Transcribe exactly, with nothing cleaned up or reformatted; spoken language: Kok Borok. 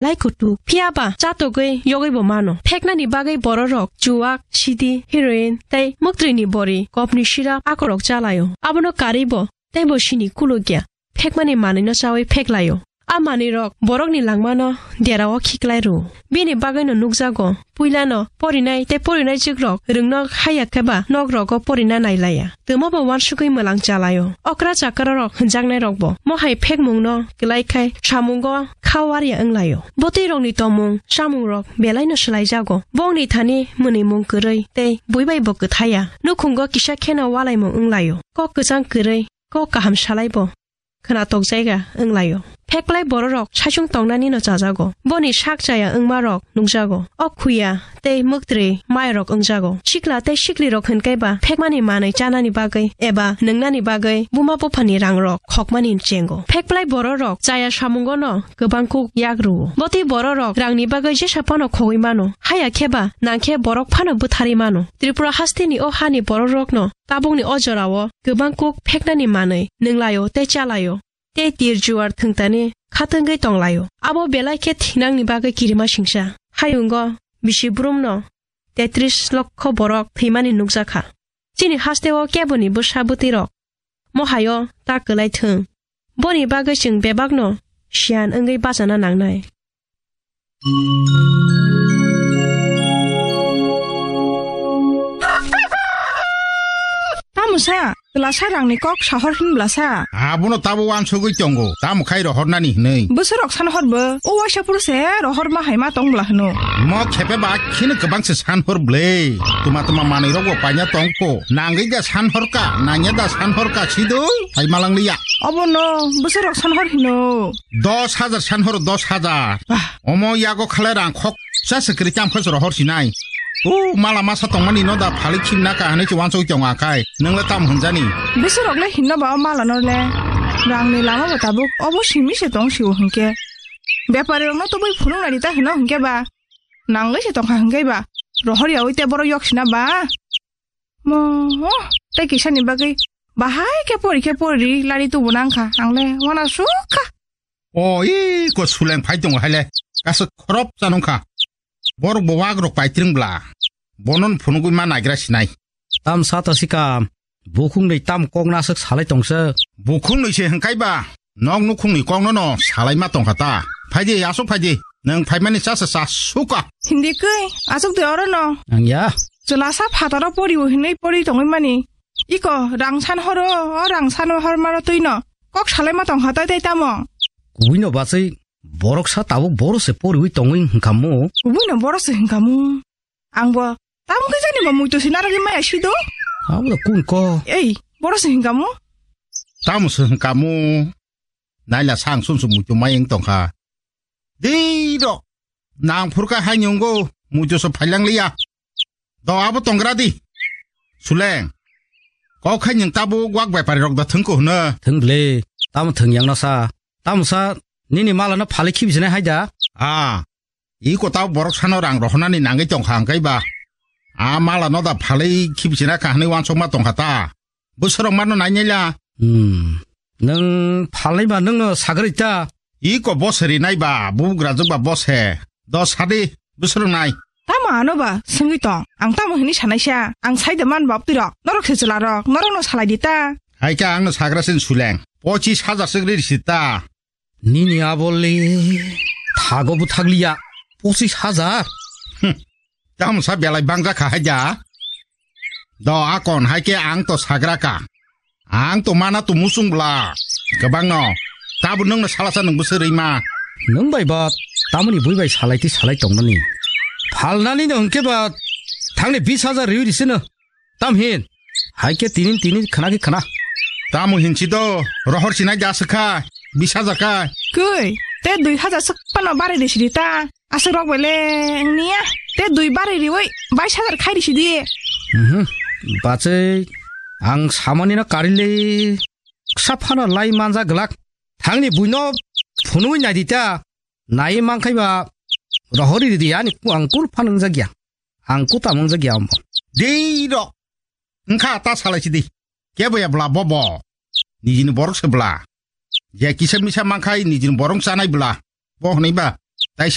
lai kutuk. Phiya ba chatogwi yogwibo mano. Pheknani bagwi bororok chuwak, sidi, heroin tei mwktwini bori, kopni sirap akorok chalaio. Abono karwibo teibo sini kulukya. Phekmani manwino chawi pheklaio. A manwirok borokni langmano derao khiklai rwo. Bini bagwino nukjago, puilano porinai tei porinai jikrok rwngno haya khe ba nok rogo porina nailaiya. Twmabo uansugwi mwlang chalaio. Okra chakrarok hwnjaknairokbo mohai phekmungno kwlai khai samungo kha warya wnglaio. Bwtwirokni tongmung chamungrok belaino swlaijago. Bongni thani mwnwimung kwrwi tei buibaibo kwthaiya. Nukhungo kisa kheno walaimung wnglaio. Kok kwchang kwrwi kok kaham salaibo khwnatok jaiga wnglaio. Pheklai bororok saichung tongnanino chajago. Boni sak chaya wngmarok nukjago. O khuya tei mwktwrwi mairok wngjago. Sikla tei siklirok hwnkhe ba phekmani manwi chanani bagwi eba nwngnani bagwi buma buphani rangrok khokmani chengo. Pheklai bororok chaya samungono kwbang kuk yak rwo. Botwi bororok rangni bagwi jesa phano khogwi mano. Haya khe ba nangkhe borok phano bwtharwi mano. Tripura hasteni o hani bororokno tabukni o jorao kwbang kuk pheknani manwi nwnglaio tei chalaio, tei tir juar thwngtani khatungwi tonglaio. Abo belai khe thinangni bagwi kirima singsa. Hayungo bisi brumno tetris lokho borok thwimani nukjakha. Chini hasteo keboni bwsa bwtwirok mohaio ta kwlai thwng. Boni bagwi chwng bebakno siyan wngwi bachana nangnai. Tamo sa, twlasa rangni kok sahor hin bwlasa? Abono tabo uansugwi tongo, tamo khai rohornani hinwi. Bwswrok san hor bo, o waisa phuru se rohor ma hai ma tong bwla hwno. Mo khepe ba kheno kwbang se san hor bwle. Tuma tuma manwi rok bo paina tong ko. Nangwi da san hor ka, nangya da san hor ka sido, hai malang liya. Obo no, bwswrok san hor hino. Dos hajar san horo, dos hajar. Bah. Omo yago khalai rang khok sa se kwrwi tam khe se rohor sinai. O mala masa tongmani no da phali khim na ka hinwi se uansugwi tongo akai. Nwng le tam hwnjani? Bwswrok le hinno ba o mala no le. Rang ni lama ba tabuk obo simi se tong si o hinkhe. Bepari rok no tubui phunuk nai di ta hino hinkhe ba. Nangwi se tongkha hinkhe ba. Rohor yaui te borok yok sina ba. Mo, tei kisani bagwi bahai khe pori khe pori lari tubu nangkha, ang le wana sukha. O, i ko suleng phai tongo hai le, kaisa khorop chanungkha. Borok bo wak rok paitring bla, bonon phunugwi ma naigra sinai. Tam sa ta sika, bukhung ni tam kok naswk salai tongsa. Bukhung ni se hwnkhe ba, nok nukhungni kokno no salaima tongkha ta. Phaidi, aswk phaidi. Nwng phaimani chasa cha suka. Hindi kwi, aswk de oro no. Ang ya. Chwla sa phataro poriwo hinwi pori tongwi mani. Iko, rang san horo, o rang san hor maro twi no. Kok salaima tongkha tai tai tamo. Kubui no bachai, borok sa tabuk boro se poriwi tongwi hwnkhamu. Kubui no boro se hwnkhamu. Ang bo, tamo khe jani bo muitu se narwgwi maya sido. Abo da kun ko. Ei, boro se hwnkhamu. Tamo se hwnkhamu. Naila sang sum sum muitu mai wng tongkha. Dei rok. Nang phurkha hai nyungo muitu so phailang liya. Do abo tongra di. Suleng. Kok khai nyung tabo wak bai pari rok da thung ko hwno. Thung ble. Tamo thung yang no sa. Tamo sa nini mala no phali khibi sinai hai da. Ah. Iko tabo borok sano rang rohonani nangwi tongkha hwnkhe ba. A mala no da phali khibi sina kha hwnwi wansokma tongkha ta. Bwswrok mano nainai la. Hmm. Nwng phalnai ba nwngno sagri ta. Iko bose rinai ba, bubugrajwk ba bose. Do sadi, bwswrok nai. Tamo ano ba, swngwi tong. Ang tamo hini sanaisa. Ang saida man baptirok. Norok se chwlarok, norokno salai di ta. Hai khe angno sagra sin suleng. Pochis hajar swk ri risi ta. Nini abole thago bwthakliya pochis hajar. Hmm. Tamo sa belai bangja kha hai da. Do akon hai khe ang to sagra ka. Ang to mana to musung bla. Kwbang no. Tabo nwng no sala sa nwng bwswk rwi ma. Nwng bai ba tamoni bui bai salai ti salai tong nani. Phalnani no hwnkhe ba thangni bis hajar riwi risi no. Tam hin? Hai khe tinin tinin khna khe khna. Tamo hinsi do, rohor sinai da swkha, bis hajar kha. Koi, te dui hajar swk phano barai risi di ta. Aswk rok bai le wngniya. Te dui barai riwi bais hajar khai risi di. Mhm. Bachai, ang samani no kari le ksa phano lai manja glak. Thangni buino phunui nai di ta. Nai man khai ba rohor ri di ani ku ang kul phan wngjakya. Ang kuta mangjak ya omo. Dei rok. Wngkha ta salai sidi. Kebo ya bla bobo. Nijini borok se bla. Je kisa misa mankhai nijini borok chanai bla. Bo hwnwi ba.